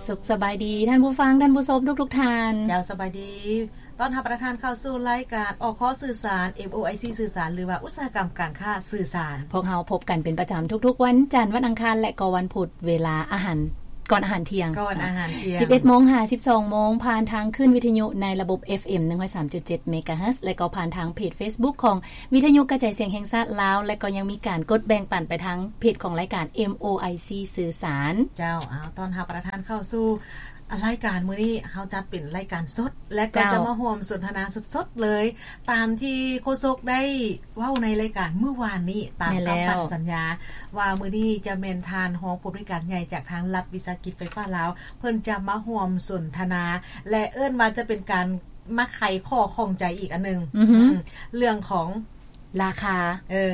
ສຸກສະບາຍດີທ່ານຜູ້ຟັງ, ທ່ານຜູ້ຊົມທຸກໆທ່ານ. ເຈົ້າ, ສະບາຍດີ. ຕ້ອນຮັບປະທານເຂົ້າສູ່ລາຍການ ອຄ ສື່ສານ, ເອັມໂອໄອຊີ ສື່ສານ ຫຼືວ່າອຸດສາຫະກຳການຄ້າສື່ສານ. ພວກເຮົາພົບກັນເປັນປະຈຳທຸກໆວັນຈັນ, ວັນອັງຄານ ແລະ ກໍວັນພຸດ ເວລາອາຫານ ກ່ອນອາຫານທ່ຽງ. ກ່ອນອາຫານທ່ຽງ. ສິບເອັດໂມງຫາສິບສອງໂມງ ຜ່ານທາງຄື້ນວິທະຍຸໃນລະບົບ ເອັຟເອັມ ໜຶ່ງຮ້ອຍສາມຈຸດເຈັດ ເມກາເຮີດ ແລະ ກໍຜ່ານທາງເພຈເຟສບຸກຂອງ ວິທະຍຸກະຈາຍສຽງແຫ່ງຊາດລາວ ແລະ ກໍຍັງມີການກົດແບ່ງປັນໄປທາງເພຈຂອງລາຍການ ເອັມໂອໄອຊີ ສື່ສານ. ເຈົ້າ, ເອົາ ຕ້ອນຮັບປະທານເຂົ້າສູ່ລາຍການ. ມື້ນີ້ເຮົາຈັດເປັນລາຍການສົດ ແລະ ກໍຈະມາຮ່ວມສົນທະນາສົດໆເລີຍ ຕາມທີ່ໂຄສົກໄດ້ເວົ້າໃນລາຍການມື້ວານນີ້ ຕາມຄຳໝັ້ນສັນຍາ ວ່າມື້ນີ້ຈະແມ່ນທ່ານຮອງຜູ້ອຳນວຍການໃຫຍ່ຈາກທາງລັດວິສາຫະກິດໄຟຟ້າລາວ ເພິ່ນຈະມາຮ່ວມສົນທະນາ ແລະ ເອີ້ນວ່າຈະເປັນການ ມາໄຂຂໍ້ຂ້ອງໃຈອີກອັນໜຶ່ງ ອືຮຶ ອືມ ເລື່ອງຂອງລາຄາ ເອີ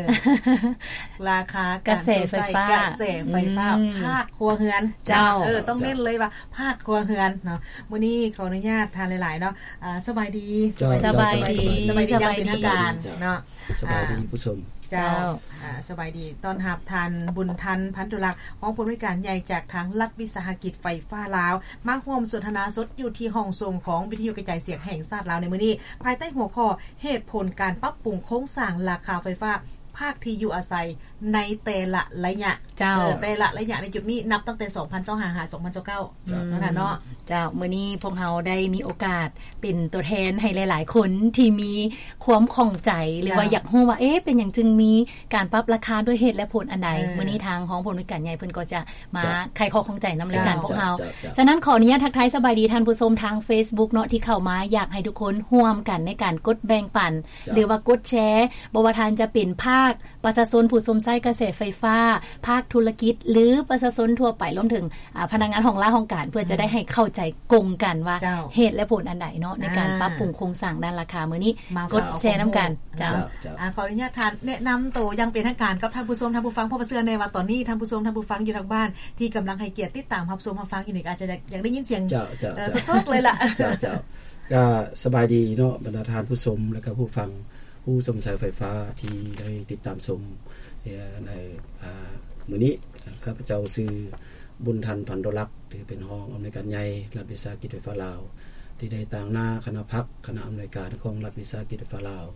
ລາຄາການ ກະແສໄຟຟ້າ ກະແສໄຟຟ້າ ອືມ ພາກຄົວເຮືອນ. ເຈົ້າ ເອີ ຕ້ອງເນັ້ນເລີຍວ່າພາກຄົວເຮືອນເນາະ. ມື້ນີ້ຂໍອະນຸຍາດທ່ານຫຼາຍໆເນາະ. ອ່າ ສະບາຍດີ. ເຈົ້າ ສະບາຍດີ ສະບາຍດີ ສະບາຍດີຢ່າງເປັນທາງການເນາະ. ສະບາຍດີ ອ່າ ຜູ້ຊົມ. ເຈົ້າ ເຈົ້າ ອ່າ ສະບາຍດີ ຕ້ອນຮັບທ່ານ ບຸນທັນ ພັນຕຸລັກ ຮອງຜູ້ອຳນວຍການໃຫຍ່ຈາກທາງລັດວິສາຫະກິດໄຟຟ້າລາວ ມາຮ່ວມສົນທະນາສົດຢູ່ທີ່ຫ້ອງສົມຂອງວິທະຍຸກະຈາຍສຽງແຫ່ງຊາດລາວໃນມື້ນີ້ ພາຍໃຕ້ຫົວຂໍ້ ເຫດຜົນການປັບປຸງໂຄງສ້າງລາຄາໄຟຟ້າພາກທີ່ຢູ່ອາໄສໃນແຕ່ລະໄລຍະ. ເຈົ້າ ເອີ ແຕ່ລະໄລຍະໃນຈຸດນີ້ ນັບຕັ້ງແຕ່ສອງພັນຊາວຫ້າ ຫາ ສອງພັນຊາວເກົ້າ ເຈົ້າ ເນາະທ່ານເນາະ. ເຈົ້າ ມື້ນີ້ພວກເຮົາໄດ້ມີໂອກາດເປັນຕົວແທນໃຫ້ຫຼາຍໆຄົນທີ່ມີຄວາມຂ້ອງໃຈ ຫຼືວ່າ ເຈົ້າ ຢາກຮູ້ວ່າ ເອ ເປັນຫຍັງຈຶ່ງມີການປັບລາຄາດ້ວຍເຫດແລະຜົນອັນໃດ. ເອີ ມື້ນີ້ທາງຮອງຜູ້ອຳນວຍການໃຫຍ່ເພິ່ນກໍຈະມາ ເຈົ້າ ໄຂຂໍ້ຂ້ອງໃຈນຳລາຍການ ເຈົ້າ ພວກເຮົາ. ເຈົ້າ ເຈົ້າ ສະນັ້ນ ຂໍອະນຸຍາດທັກທາຍສະບາຍດີທ່ານຜູ້ຊົມທາງເຟສບຸກເນາະ ທີ່ເຂົ້າມາ. ຢາກໃຫ້ທຸກຄົນຮ່ວມກັນໃນການກົດແບ່ງປັນ ເຈົ້າ ຫຼືວ່າກົດແຊ ບໍ່ວ່າທ່ານຈະເປັນພາກ ປະຊາຊົນຜູ້ຊົມໃຊ້ກະແສໄຟຟ້າ, ພາກທຸລະກິດ ຫຼື ປະຊາຊົນທົ່ວໄປ, ລວມເຖິງ ອາ ພະນັກງານຫ້ອງລາຫ້ອງການ ເພື່ອຈະໄດ້ໃຫ້ເຂົ້າໃຈກົງກັນວ່າ ເຈົ້າ ເຫດແລະຜົນອັນໃດເນາະ ໃນການ ອ່າ ປັບປຸງໂຄງສ້າງດ້ານລາຄາ. ມື້ນີ້ ມາ ກົດແຊນຳກັນ. ເຈົ້າ ເຈົ້າ ເຈົ້າ ອ່າ ຂໍອະນຸຍາດທ່ານແນະນຳໂຕຢ່າງເປັນທາງການກັບທ່ານຜູ້ຊົມ, ທ່ານຜູ້ຟັງ, ເພາະວ່າເຊື່ອແນ່ວ່າຕອນນີ້ທ່ານຜູ້ຊົມ, ທ່ານຜູ້ຟັງຢູ່ທາງບ້ານທີ່ກຳລັງໃຫ້ກຽດຕິດຕາມຮັບຊົມຮັບຟັງຢູ່ນີ້ ກໍອາດຈະຢາກ ຢາກໄດ້ຍິນສຽງ ເຈົ້າ ເຈົ້າ ເອີ ເຈົ້າ ສົດໆເລີຍລະ. ເຈົ້າ ເຈົ້າ ກໍສະບາຍດີເນາະ ບັນດາທ່ານຜູ້ຊົມ ແລະ ກໍຜູ້ຟັງ ຜູ້ຊົມໃຊ້ໄຟຟ້າທີ່ໄດ້ຕິດຕາມຊົມ ເອີ ໃນ ອ່າ ມື້ນີ້. ຂ້າພະເຈົ້າຊື່ ບຸນທັນ ພັນຕຸລັກ ທີ່ເປັນຮອງອຳນວຍການໃຫຍ່ລັດວິສາຫະກິດໄຟຟ້າລາວ ທີ່ໄດ້ຕາງໜ້າຄະນະພັກ ຄະນະອຳນວຍການຂອງລັດວິສາຫະກິດໄຟຟ້າລາວ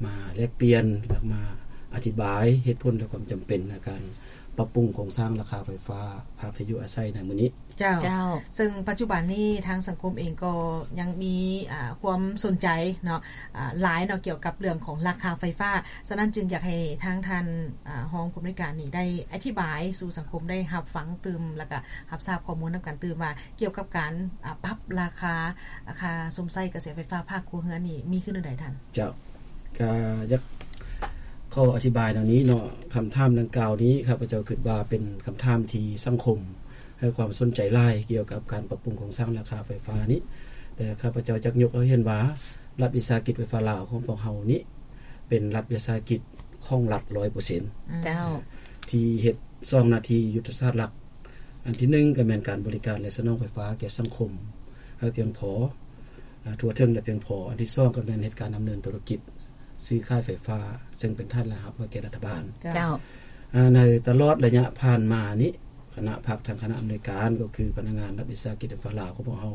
ມາແລກປ່ຽນ ແລະ ມາອະທິບາຍເຫດຜົນ ແລະ ຄວາມຈຳເປັນໃນການປັບປຸງໂຄງສ້າງລາຄາໄຟຟ້າພາກທີ່ຢູ່ອາໄສໃນມື້ນີ້. ເຈົ້າ ເຈົ້າ ເຊິ່ງປັດຈຸບັນນີ້ທາງສັງຄົມເອງກໍຍັງມີ ອ່າ ຄວາມສົນໃຈເນາະ ອ່າ ຫຼາຍເນາະ ກ່ຽວກັບເລື່ອງຂອງລາຄາໄຟຟ້າ. ສະນັ້ນຈຶ່ງຢາກໃຫ້ທາງທ່ານ ອ່າ ຮອງຜູ້ອຳນວຍການນີ້ໄດ້ອະທິບາຍສູ່ສັງຄົມໄດ້ຮັບຟັງຕື່ມ ແລ້ວກະຮັບຊາບຂໍ້ມູນນຳກັນຕື່ມວ່າ ກ່ຽວກັບການ ອ່າ ປັບລາຄາ ລາຄາຊົມໃຊ້ກະແສໄຟຟ້າພາກຄົວເຮືອນນີ້ ມີຂຶ້ນແນວໃດທ່ານ? ເຈົ້າ ກະຢາກຂໍອະທິບາຍແນວນີ້ເນາະ, ຄຳຖາມດັ່ງກ່າວນີ້ ຂ້າພະເຈົ້າຄິດວ່າເປັນຄຳຖາມທີ່ສັງຄົມໃຫ້ຄວາມສົນໃຈຫຼາຍ ກ່ຽວກັບການປັບປຸງໂຄງສ້າງລາຄາໄຟຟ້ານີ້. ແຕ່ຂ້າພະເຈົ້າຢາກຍົກໃຫ້ເຫັນວ່າ ລັດວິສາຫະກິດໄຟຟ້າລາວຂອງພວກເຮົານີ້ ເປັນລັດວິສາຫະກິດຂອງລັດຮ້ອຍເປີເຊັນ. ເຈົ້າ ທີ່ເຮັດສອງໜ້າທີ່ຍຸດທະສາດຫຼັກ. ອັນທີໜຶ່ງ ກໍແມ່ນການບໍລິການ ແລະ ສະໜອງໄຟຟ້າແກ່ສັງຄົມໃຫ້ພຽງພໍ ອາ ທົ່ວເຖິງ ແລະ ພຽງພໍ. ອັນທີສອງ ກໍແມ່ນເຮັດການດຳເນີນທຸລະກິດ ຊື້ຂາຍໄຟຟ້າ ເຊິ່ງເປັນຖານລາຍຮັບໃຫ້ແກ່ລັດຖະບານ. ເຈົ້າ ເຈົ້າ ອາ ໃນຕະຫຼອດໄລຍະຜ່ານມານີ້ ຄະນະພັກ ທາງຄະນະອຳນວຍການ ກໍຄືພະນັກງານລັດວິສາຫະກິດໄຟຟ້າລາວຂອງພວກເຮົາ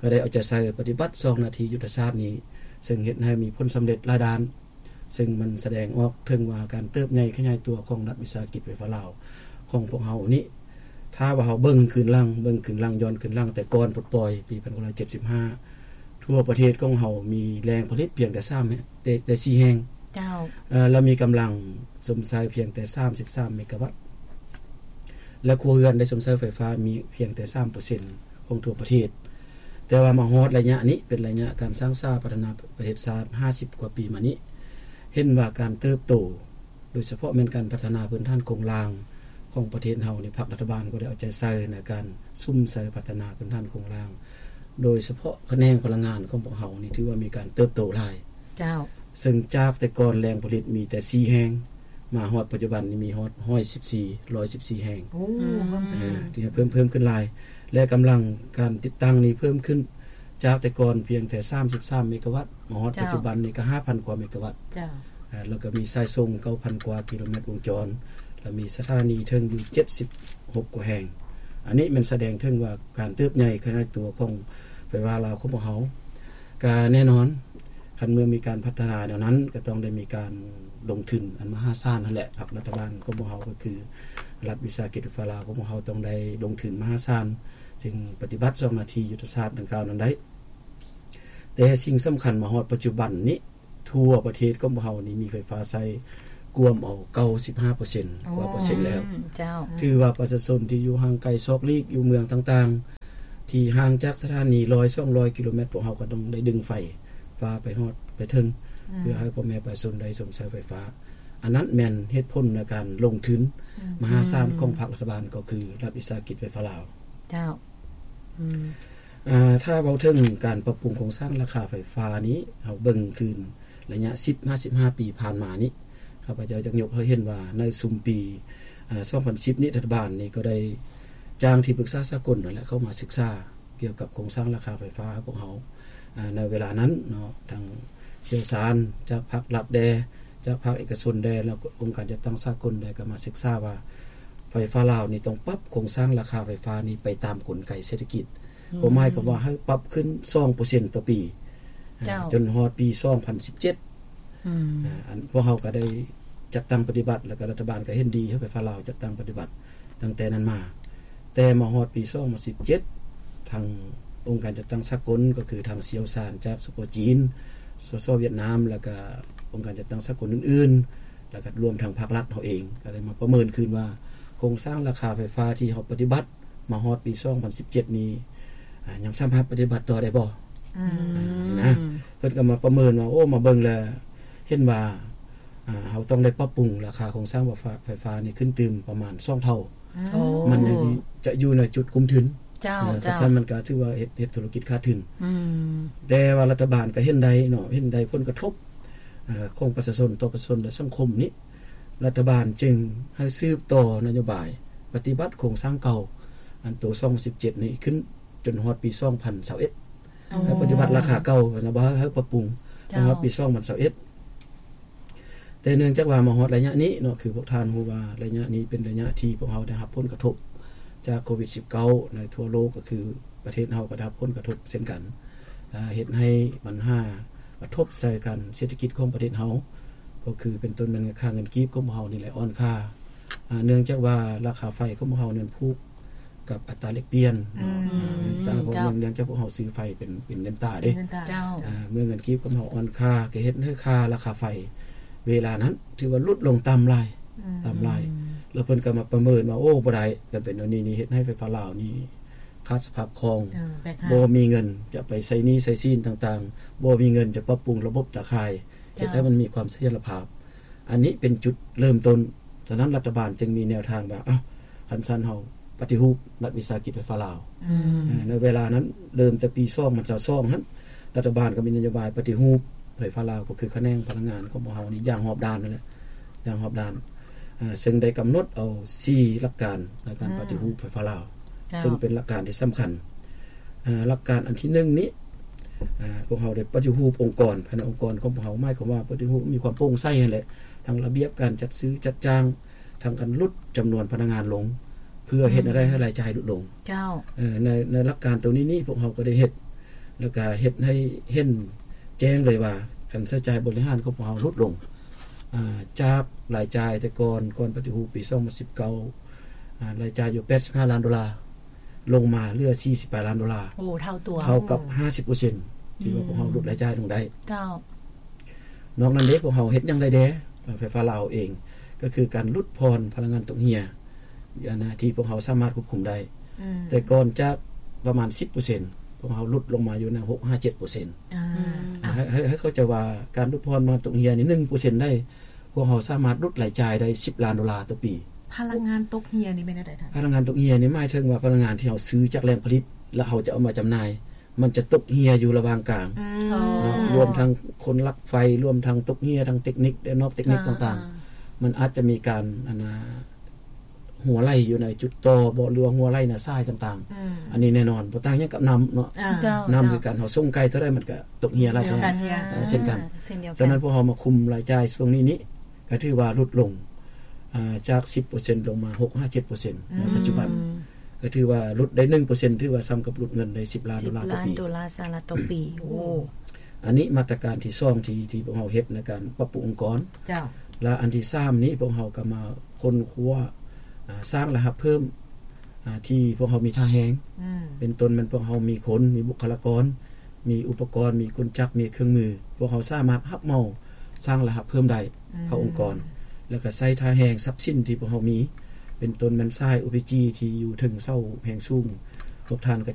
ກໍໄດ້ເອົາໃຈໃສ່ປະຕິບັດສອງໜ້າທີ່ຍຸດທະສາດນີ້ ເຊິ່ງເຮັດໃຫ້ມີຜົນສຳເລັດຫຼາຍດ້ານ. ເຊິ່ງມັນສະແດງອອກເຖິງວ່າການເຕີບໃຫຍ່ຂະຫຍາຍຕົວຂອງລັດວິສາຫະກິດໄຟຟ້າລາວຂອງພວກເຮົານີ້ ຖ້າວ່າເຮົາເບິ່ງຄືນຫຼັງ ເບິ່ງຄືນຫຼັງ ຍ້ອນຄືນຫຼັງແຕ່ກ່ອນປົດປ່ອຍປີພັນເກົ້າຮ້ອຍເຈັດສິບຫ້າ ທົ່ວປະເທດຂອງເຮົາມີແຫຼ່ງຜະລິດພຽງແຕ່ສາມ ແຕ່ ແຕ່ສີ່ແຫ່ງ. ເຈົ້າ ເອີ ແລະ ມີກຳລັງຊົມໃຊ້ພຽງແຕ່ສາມສິບສາມເມກາວັດ ແລະ ຄົວເຮືອນໄດ້ຊົມໃຊ້ໄຟຟ້າມີພຽງແຕ່ສາມເປີເຊັນຂອງທົ່ວປະເທດ. ແຕ່ວ່າມາຮອດໄລຍະນີ້ ເປັນໄລຍະການສ້າງສາພັດທະນາປະເທດຊາດຫ້າສິບກວ່າປີມານີ້ ເຫັນວ່າການເຕີບໂຕ ໂດຍສະເພາະແມ່ນການພັດທະນາພື້ນຖານໂຄງລ່າງຂອງປະເທດເຮົານີ້ ພັກລັດຖະບານກໍໄດ້ເອົາໃຈໃສ່ໃນການສຸມໃສ່ພັດທະນາພື້ນຖານໂຄງລ່າງ ໂດຍສະເພາະຂະແໜງພະລັງງານຂອງພວກເຮົານີ້ ຖືວ່າມີການເຕີບໂຕຫຼາຍ. ເຈົ້າ ເຊິ່ງຈາກແຕ່ກ່ອນແຫຼ່ງຜະລິດມີແຕ່ສີ່ແຫ່ງ ມາຮອດປັດຈຸບັນນີ້ມີຮອດຮ້ອຍສິບສີ່ ຮ້ອຍສິບສີ່ແຫ່ງ. ໂອ້ ອືມ ເພີ່ມຂຶ້ນ ເອີ ທີ່ເພີ່ມ ເພີ່ມຂຶ້ນຫຼາຍ ແລະ ກຳລັງການຕິດຕັ້ງນີ້ເພີ່ມຂຶ້ນ ຈາກແຕ່ກ່ອນພຽງແຕ່ສາມສິບສາມເມກາວັດ ມາຮອດ ເຈົ້າ ປັດຈຸບັນນີ້ກໍຫ້າພັນກວ່າເມກາວັດ. ເຈົ້າ ເອີ ແລ້ວກໍມີສາຍສົ່ງເກົ້າພັນກວ່າກິໂລແມັດວົງຈອນ ແລ້ວມີສະຖານີເຖິງຢູ່ເຈັດສິບຫົກກວ່າແຫ່ງ. ອັນນີ້ແມ່ນສະແດງເຖິງວ່າການເຕີບໃຫຍ່ຂະຫຍາຍຕົວຂອງໄຟຟ້າລາວຂອງພວກເຮົາ. ກະແນ່ນອນ ຄັນເມື່ອມີການພັດທະນາແນວນັ້ນ ກະຕ້ອງໄດ້ມີການລົງທຶນອັນມະຫາສານຫັ້ນແຫຼະ. ພັກລັດຖະບານຂອງພວກເຮົາ ກໍຄືລັດວິສາຫະກິດໄຟຟ້າລາວຂອງພວກເຮົາ ຕ້ອງໄດ້ລົງທຶນມະຫາສານ ຈຶ່ງປະຕິບັດສອງນາທີຍຸດທະສາດດັ່ງກ່າວນັ້ນໄດ້. ແຕ່ສິ່ງສຳຄັນມາຮອດປັດຈຸບັນນີ້ ທົ່ວປະເທດຂອງພວກເຮົານີ້ມີໄຟຟ້າໃຊ້ກວມເອົາເກົ້າສິບຫ້າເປີເຊັນກວ່າເປີເຊັນແລ້ວ. ໂອ້ ເຈົ້າ ຖືວ່າປະຊາຊົນທີ່ຢູ່ຫ່າງໄກຊອກຫຼີກ ຢູ່ເມືອງຕ່າງໆ ທີ່ຫ່າງຈາກສະຖານີຮ້ອຍສອງຮ້ອຍກິໂລແມັດ ພວກເຮົາກໍຕ້ອງໄດ້ດຶງໄຟຟ້າໄປຮອດໄປເຖິງ ອືມ ເພື່ອໃຫ້ພໍ່ແມ່ປະຊາຊົນໄດ້ຊົມໃຊ້ໄຟຟ້າ. ອັນນັ້ນແມ່ນເຫດຜົນໃນການລົງທຶນ ອືມ ມະຫາສານຂອງພັກລັດຖະບານ ກໍຄືລັດວິສາຫະກິດໄຟຟ້າລາວ. ເຈົ້າ ອືມ ອາ ຖ້າເວົ້າເຖິງການປັບປຸງໂຄງສ້າງລາຄາໄຟຟ້ານີ້ ເຮົາເບິ່ງຄືນໄລຍະສິບຫາສິບຫ້າປີຜ່ານມານີ້ ຂ້າພະເຈົ້າຢາກຍົກໃຫ້ເຫັນວ່າໃນຊຸມປີ ອາ ສອງພັນສິບນີ້ ລັດຖະບານນີ້ກໍໄດ້ຈ້າງທີ່ປຶກສາສາກົນນັ້ນແຫຼະ ເຂົ້າມາສຶກສາກ່ຽວກັບໂຄງສ້າງລາຄາໄຟຟ້າໃຫ້ພວກເຮົາ. ອາ ໃນເວລານັ້ນເນາະ ທັງຊ່ຽວຊານຈາກພາກລັດແດ່ ຈາກພາກເອກະຊົນແດ່ ແລ້ວກໍອົງການຈັດຕັ້ງສາກົນແດ່ ກໍມາສຶກສາວ່າ ໄຟຟ້າລາວນີ້ຕ້ອງປັບໂຄງສ້າງລາຄາໄຟຟ້ານີ້ໄປຕາມກົນໄກເສດຖະກິດ ອືມ ກໍໝາຍຄວາມວ່າໃຫ້ປັບຂຶ້ນສອງເປີເຊັນຕໍ່ປີ ເຈົ້າ ຈົນຮອດປີສອງພັນສິບເຈັດ. ອືມ ອາ ອັນພວກເຮົາກໍໄດ້ຈັດຕັ້ງປະຕິບັດ ແລ້ວກໍລັດຖະບານກໍເຫັນດີໃຫ້ໄຟຟ້າລາວຈັດຕັ້ງປະຕິບັດຕັ້ງແຕ່ນັ້ນມາ. ແຕ່ມາຮອດປີສອງພັນສິບເຈັດ ທາງອົງການຈັດຕັ້ງສາກົນ ກໍຄືທາງຊ່ຽວຊານຈາກ ສປ ຈີນ, ສສ ຫວຽດນາມ ແລ້ວກໍອົງການຈັດຕັ້ງສາກົນອື່ນໆ ແລ້ວກໍລວມທັງພາກລັດເຮົາເອງ ກໍໄດ້ມາປະເມີນຄືນວ່າ ໂຄງສ້າງລາຄາໄຟຟ້າທີ່ເຮົາປະຕິບັດມາຮອດປີສອງພັນສິບເຈັດນີ້ ອາ ຍັງສາມາດປະຕິບັດຕໍ່ໄດ້ບໍ່? ອືມ ອາ ນະ ເພິ່ນກໍມາປະເມີນວ່າ ໂອ້ ມາເບິ່ງແລ້ວເຫັນວ່າ ອາ ເຮົາຕ້ອງໄດ້ປັບປຸງລາຄາໂຄງສ້າງໄຟຟ້າ ໄຟຟ້ານີ້ຂຶ້ນຕື່ມປະມານສອງເທົ່າ. ໂອ້ ມັນຍັງຈະຢູ່ໃນຈຸດກຸ້ມທຶນ. ເຈົ້າ ເອີ ເຈົ້າ ຄັນຊັ້ນມັນກໍຖືວ່າເຮັດ ເຮັດທຸລະກິດຂາດທຶນ. ອືມ ແຕ່ວ່າລັດຖະບານກໍເຫັນໄດ້ເນາະ ເຫັນໄດ້ຜົນກະທົບ ເອີ ຂອງປະຊາຊົນຕໍ່ປະຊາຊົນ ແລະ ສັງຄົມນີ້ ລັດຖະບານຈຶ່ງໃຫ້ສືບຕໍ່ນະໂຍບາຍປະຕິບັດໂຄງສ້າງເກົ່າ ອັນໂຕສອງພັນສິບເຈັດນີ້ ຂຶ້ນຈົນຮອດປີສອງພັນຊາວເອັດ ອໍ ແລະ ປະຕິບັດລາຄາເກົ່າ ແລະ ບໍ່ໃຫ້ ໃຫ້ປັບປຸງ ເຈົ້າ ຮອດປີສອງພັນຊາວເອັດ. ແຕ່ເນື່ອງຈາກວ່າມາຮອດໄລຍະນີ້ເນາະ ຄືພວກທ່ານຮູ້ວ່າໄລຍະນີ້ເປັນໄລຍະທີ່ພວກເຮົາໄດ້ຮັບຜົນກະທົບຈາກໂຄວິດສິບເກົ້າ ໃນທົ່ວໂລກ ກໍຄືປະເທດເຮົາກໍໄດ້ຮັບຜົນກະທົບເຊັ່ນກັນ ອາ ເຮັດໃຫ້ບັນຫາກະທົບໃສ່ການເສດຖະກິດຂອງປະເທດເຮົາ ກໍຄືເປັນຕົ້ນແມ່ນຄ່າເງິນກີບຂອງພວກເຮົານີ້ແຫຼະອ່ອນຄ່າ ອາ ເນື່ອງຈາກວ່າລາຄາໄຟຂອງພວກເຮົານັ້ນຜູກ ກັບອັດຕາແລກປ່ຽນ ອືມ ອືມ ເຈົ້າ ເນື່ອງຈາກພວກເຮົາຊື້ໄຟເປັນ ເປັນເງິນຕາເດ້ ເປັນເງິນຕາ ເຈົ້າ ອາ ເມື່ອເງິນກີບຂອງເຮົາອ່ອນຄ່າ ກໍເຮັດໃຫ້ຄ່າລາຄາໄຟເວລານັ້ນຖືວ່າຫຼຸດລົງຕ່ຳຫຼາຍ ອືມ ຕ່ຳຫຼາຍ ອືມ ແລ້ວເພິ່ນກໍມາປະເມີນວ່າ ໂອ້ ບໍ່ໄດ້ ຄັນເປັນແນວນີ້ນີ້ ເຮັດໃຫ້ໄຟຟ້າລາວນີ້ຂາດສະພາບຄ່ອງ ເອີ ບໍ່ມີເງິນຈະໄປໃຊ້ໜີ້ໃຊ້ສິນຕ່າງໆ ບໍ່ມີເງິນຈະປັບປຸງລະບົບຕາຂ່າຍ ເຮັດໃຫ້ມັນມີຄວາມສະຖຽນລະພາບ. ອັນນີ້ເປັນຈຸດເລີ່ມຕົ້ນ. ສະນັ້ນລັດຖະບານຈຶ່ງມີແນວທາງວ່າ ເອົ້າ ຄັນຊັ້ນເຮົາປະຕິຮູບລັດວິສາຫະກິດໄຟຟ້າລາວ. ອືມ ເອີ ໃນເວລານັ້ນ ເລີ່ມແຕ່ປີສອງພັນຊາວສອງຫັ້ນ ລັດຖະບານກໍມີນະໂຍບາຍປະຕິຮູບໄຟຟ້າລາວ ກໍຄືຂະແໜງພະລັງງານຂອງພວກເຮົານີ້ຢ່າງຮອບດ້ານນັ້ນແຫຼະ ຢ່າງຮອບດ້ານ ເຊິ່ງໄດ້ກຳນົດເອົາສີ່ຫຼັກການໃນການປະຕິຮູບໄຟຟ້າລາວ ເຈົ້າ ເຊິ່ງເປັນຫຼັກການທີ່ສຳຄັນ. ເອີ ຫຼັກການອັນທີໜຶ່ງນີ້ ເອີ ພວກເຮົາໄດ້ປະຕິຮູບອົງກອນ ພາຍໃນອົງກອນຂອງພວກເຮົາ ໝາຍຄວາມວ່າປະຕິຮູບມີຄວາມໂປ່ງໃສຫັ້ນແຫຼະ ທັງລະບຽບການຈັດຊື້ຈັດຈ້າງ ທັງການຫຼຸດຈຳນວນພະນັກງານລົງ ເພື່ອເຮັດໃຫ້ໄດ້ ອືມ ໃຫ້ລາຍຈ່າຍຫຼຸດລົງ. ເຈົ້າ ເອີ ໃນ ໃນຫຼັກການໂຕນີ້ນີ້ ພວກເຮົາກໍໄດ້ເຮັດ ແລ້ວກໍເຮັດໃຫ້ເຫັນແຈ້ງເລີຍວ່າ ການໃຊ້ຈ່າຍບໍລິຫານຂອງພວກເຮົາຫຼຸດລົງ ອາ ຈາກລາຍຈ່າຍແຕ່ກ່ອນ ກ່ອນປະຕິຮູບປີສອງພັນສິບເກົ້າ ອາ ລາຍຈ່າຍຢູ່ແປດສິບຫ້າລ້ານໂດລາ ລົງມາເຫຼືອສີ່ສິບປາຍລ້ານໂດລາ. ໂອ້ ເທົ່າຕົວ ເທົ່າກັບຫ້າສິບເປີເຊັນ ທີ່ວ່າ ອືມ ພວກເຮົາຫຼຸດລາຍຈ່າຍລົງໄດ້. ເຈົ້າ ນອກນັ້ນເດ້ ພວກເຮົາເຮັດຫຍັງໄດ້ແດ່? ໄຟຟ້າລາວເອງ ກໍຄືການຫຼຸດຜ່ອນພະລັງງານຕົກເຫື່ອ ອັນນະ ທີ່ພວກເຮົາສາມາດຄວບຄຸມໄດ້. ອືມ ແຕ່ກ່ອນຈະປະມານສິບເປີເຊັນ ພວກເຮົາຫຼຸດລົງມາຢູ່ໃນຫົກຫາເຈັດເປີເຊັນ. ອາ ອືມ ໃຫ້ ໃຫ້ ໃຫ້ເຂົ້າໃຈວ່າ ການຫຼຸດຜ່ອນພະລັງງານຕົກເຫື່ອນີ້ ໜຶ່ງເປີເຊັນໄດ້ ພວກເຮົາສາມາດຫຼຸດລາຍຈ່າຍໄດ້ສິບລ້ານໂດລາຕໍ່ປີ. ພະລັງງານຕົກເຫື່ອນີ້ແມ່ນແນວໃດທ່ານ? ພະລັງງານຕົກເຫື່ອນີ້ໝາຍເຖິງວ່າພະລັງງານທີ່ເຮົາຊື້ຈາກແຫຼ່ງຜະລິດ ແລ້ວເຮົາຈະເອົາມາຈຳໜ່າຍ ມັນຈະຕົກເຫື່ອຢູ່ລະຫວ່າງກາງ ອືມ ເນາະ ອໍ ລວມທັງຄົນລັກໄຟ ລວມທັງຕົກເຫື່ອ ທັງເຕັກນິກ ແລະ ນອກເຕັກນິກ ອ່າ ຕ່າງໆ ມັນອາດຈະມີການ ອັນນະ ຮົ່ວໄຫຼຢູ່ໃນຈຸດຕໍ່ບໍ ຫຼືວ່າຮົ່ວໄຫຼໃນສາຍຕ່າງໆ. ອືມ ອັນນີ້ແນ່ນອນ ບໍ່ຕ່າງຫຍັງກັບນ້ຳເນາະ. ອ່າ ເຈົ້າ ນ້ຳ ເຈົ້າ ຄືກັນ ເຮົາສົ່ງໄກເທົ່າໃດ ມັນກໍຕົກເຫື່ອຫຼາຍເທົ່ານັ້ນ ເຊັ່ນກັນ. ອ່າ ເຊັ່ນດຽວກັນ. ສະນັ້ນ ພວກເຮົາມາຄຸມລາຍຈ່າຍຊ່ວງນີ້ນີ້ ກໍຖືວ່າຫຼຸດລົງ ອາ ຈາກສິບເປີເຊັນລົງມາຫົກຫາເຈັດເປີເຊັນໃນປັດຈຸບັນ. ອືມ ກໍຖືວ່າຫຼຸດໄດ້ໜຶ່ງເປີເຊັນ ຖືວ່າສ່ຳກັບຫຼຸດເງິນໄດ້ສິບລ້ານໂດລາຕໍ່ປີ ສິບລ້ານໂດລາສະຫະລັດຕໍ່ປີ. ໂອ້ ອັນນີ້ມາດຕະການທີສອງ ທີ່ ທີ່ພວກເຮົາເຮັດໃນການປັບປຸງອົງກອນ. ເຈົ້າ. ແລະ ອັນທີສາມນີ້ ພວກເຮົາກໍມາຄົ້ນຄວ້າ ອາ ສ້າງລາຍຮັບເພີ່ມ ອາ ທີ່ພວກເຮົາມີທ່າແຮງ ອືມ ເປັນຕົ້ນແມ່ນພວກເຮົາມີຄົນ ມີບຸກຄະລາກອນ ມີອຸປະກອນ ມີກົນຈັກ ມີເຄື່ອງມື ພວກເຮົາສາມາດຮັບເໝົາສ້າງລາຍຮັບເພີ່ມໄດ້ ອືມ ເຂົ້າອົງກອນ ແລ້ວກໍໃຊ້ທ່າແຮງຊັບສິນທີ່ພວກເຮົາມີ ເປັນຕົ້ນແມ່ນສາຍ ໂອພີຈີ ທີ່ຢູ່ເທິງເສົາແຮງສູງ ພວກທ່ານກໍ